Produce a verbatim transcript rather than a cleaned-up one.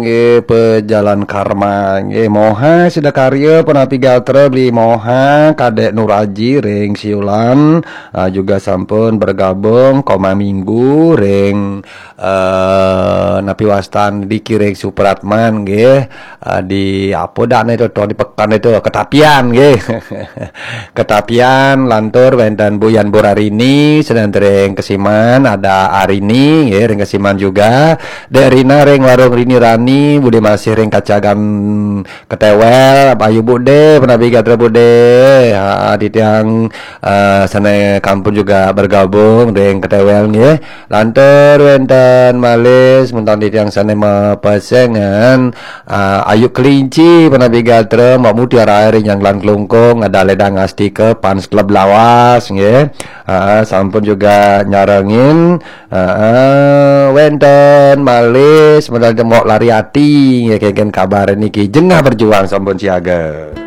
Nggih, pejalan karma. Nggih, moha sida karya punapi gatra beli moha Kadek Nuraji ring Siulan, ah, juga sampun bergabung koma minggu ring, eh, napi wastan di Kiring Supratman nggih. Ah, di apa dah itu tuh di pekan itu Ketapian nggih. Ketapian lantur wenten Bu Yan Burarini, sedang ring Kesiman ada Arini nggih, ring Kesiman juga. Dek Rina ring Warung Rini Rani, Bude Masih ring Kacagan Ketewel, Ayu Bude, punapi gatra Bude. Ha, di tiang, eh, sana kampung juga bergabung ring Ketewel nggih. Lantur wenten malih semeton di tiang sana mapesengan, eh, Ayu Kelinci, punapi gatra, Mbak Mutiara ring Nyanglan Klungkung, ada Ledang Astika, Fans Club Lawas nggih. Ah, sampun juga nyarengin. Ah, wenten malih sebenarnya mau lari ati ya, kengken kabar niki jengah berjuang sampun siaga.